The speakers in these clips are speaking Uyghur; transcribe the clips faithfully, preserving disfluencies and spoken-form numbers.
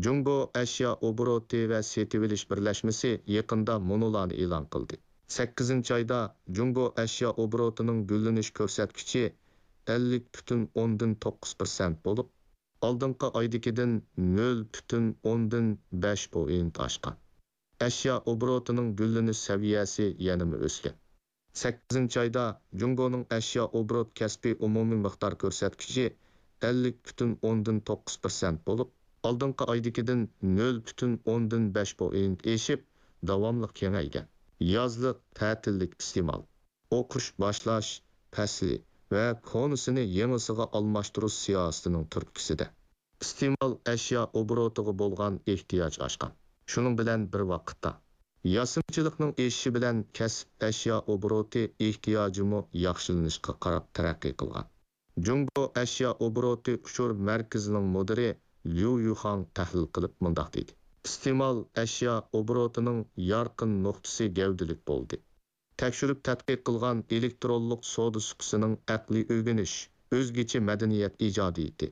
جۇڭگو ئەشيا ئوبوروتى ۋە سېتىۋېلىش بىرلەشمىسى يېقىندا مۇنۇلارنى ئېلان قىلدى. سەككىزىنچى ئايدا جۇڭگو ئەشيا ئوبوروتىنىڭ گۈللىنىش كۆرسەتكۈچى ئەللىك پۈتۈن ئوندىن توققۇز پىرسەنت بولۇپ، ئالدىنقى ئايدىكىدىن نۆل پۈتۈن ئوندىن بەش پوئىنت ئاشقان. ئەشيا ئوبوروتىنىڭ گۈللىنىش سەۋىيەسى يەنىمۇ ئۆسكەن. سەككىزىنچى ئايدا جۇڭگونىڭ ئەشيا ئوبوروت كەسپىي ئومۇمىي مىقدار كۆرسەتكۈچى ئەللىك پۈتۈن ئوندىن توققۇز پىرسەنت بولۇپ، ئالدىنقى ئايدىكىدىن نۆل پۈتۈن ئوندىن بەش پوئىنت ئېشىپ، داۋاملىق كېڭەيگەن. يازلىق تەتىللىك ئىستېمال، ئوقۇش باشلاش پەسلى ۋە كونىسىنى يېڭىسىغا ئالماشتۇرۇش سىياسىتىنىڭ تۈرتكىسىدە، ئىستېمال ئەشيا ئوبوروتىغا بولغان ئېھتىياج ئاشقان. شۇنىڭ بىلەن بىر ۋاقىتتا، ياسىمىچىلىقنىڭ ئېشىشى بىلەن كەسىپ ئەشيا ئوبوروتى ئېھتىياجىمۇ ياخشىلىنىشقا قاراپ تەرەققىي قىلغان. جۇڭگو ئەشيا ئوبوروتى ئۇچۇر مەركىزىنىڭ مۇدىرى ليۇ يۇخاڭ تەھلىل قىلىپ مۇنداق دېدى: ئىستېمال ئەشيا ئوبوروتىنىڭ يارقىن نۇقتىسى گەۋدىلىك بولدى. تەكشۈرۈپ تەتقىق قىلغان ئېلېكترونلۇق سودا سۇپىسىنىڭ ئەقلىي ئۆگىنىش، ئۆزگىچە مەدەنىيەت ئىجادىيىتى،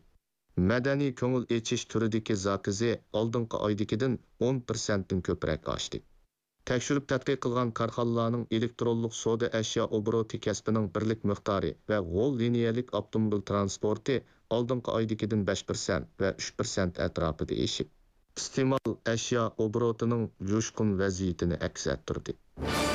مەدەنىي كۆڭۈل ئېچىش تۈرىدىكى زاكىزى ئالدىنقى ئايدىكىدىن ئون پىرسەنتتىن كۆپرەك ئاشتى. تەكشۈرۈپ تەتقىق قىلغان كارخانىلارنىڭ ئېلېكترونلۇق سودا ئەشيا ئوبوروتى كەسپىنىڭ بىرلىك مىقدارى ۋە غول لىنىيەلىك ئاپتوموبىل ترانسپورتى ئالدىنقى ئايدىكىدىن بەش پىرسەنت ۋە ئۈچ پىرسەنت ئەتراپىدا ئېشىپ، ئىستېمال ئەشيا ئوبوروتىنىڭ جۇشقۇن ۋەزىيىتىنى ئەكس ئەتتۈردى.